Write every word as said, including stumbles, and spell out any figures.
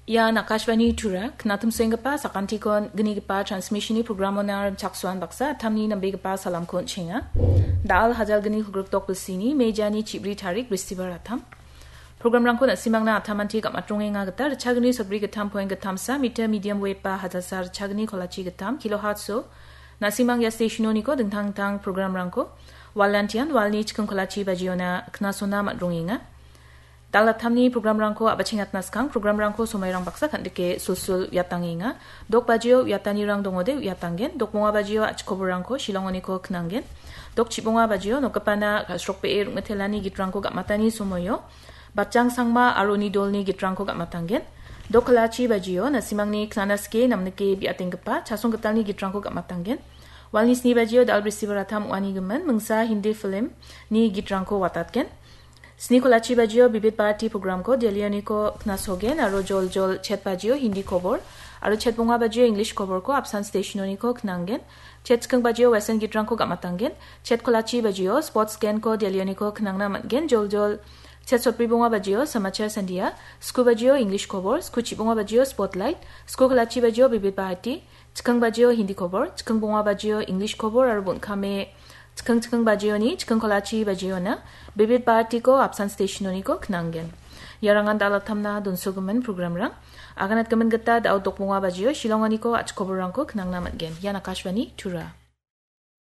Ia Akashvani Tura, knatimsoenggipa sakantikon gnigipa transmissionni programona rimchaksoan baksa attamni nambegipa salamko on·chenga. Dal hajal gni kolgrikdok bilsini mejani chibri tarik bristibar attam. Programrangko na·simangna attamanti gam·atrongenga gita ritchagni sotbri gittam poeng gittamsa meter medium wave ba hajalsa ritchagni kolachi gittam kilohertz-o na·simang ia stationoniko dingtang dingtang programrangko walantian walni chiking kolachi bajiona knasona man·rongenga. Dal attamni programrangko a·bachengatna skang programrangko somairang baksa kan·dike sulsul uiatangenga. Dok bajio uiatanirang dongode uiatanggen. Dok bonga bajio a·chikoborangko Shillongoniko knanggen. Dok chibonga bajio nokgipana ka·srokbee rongmitelani gitrangko gam·atani somoio Batjang Sangma aro uni dolni gitrangko gam·atanggen. Dok kolachi bajio na·simangni knana skie namnike bi·atenggipa Chasong Gitalni gitrangko gam·atanggen. Walni sni bajio dal bristibar attam ong·ani gimin mingsa Hindi filmni gitrangko watatgen. Sni kolachi bajio Bibit Bharati programko Delhioniko knasogen aro joljol chet bajio Hindi kobor aro chet bonga bajio English koborko apsan stationoniko knanggen. Chet chiking bajio western gitrangko gam·atanggen. Chet kolachi bajio sports genko Delhioniko knangna man·gen. Joljol chet sotbri bonga bajio Samachar Sandia, sku bajio English kobor, sku chibonga bajio Spotlight, sku kolachi bajio Bibit Bharati, chiking bajio Hindi kobor, chiking bonga bajio English kobor aro bon·kame chiking chiking bajioni chiking kolachi bajiona Bibit Bharatiko apsan stationoniko knanggen. Iarangan dal attamna donsogimin programrang. Aganatgimin gita dal dok bonga bajio Shillongoniko a·chikoborangko knangna man·gen. Ian Akashvani Tura.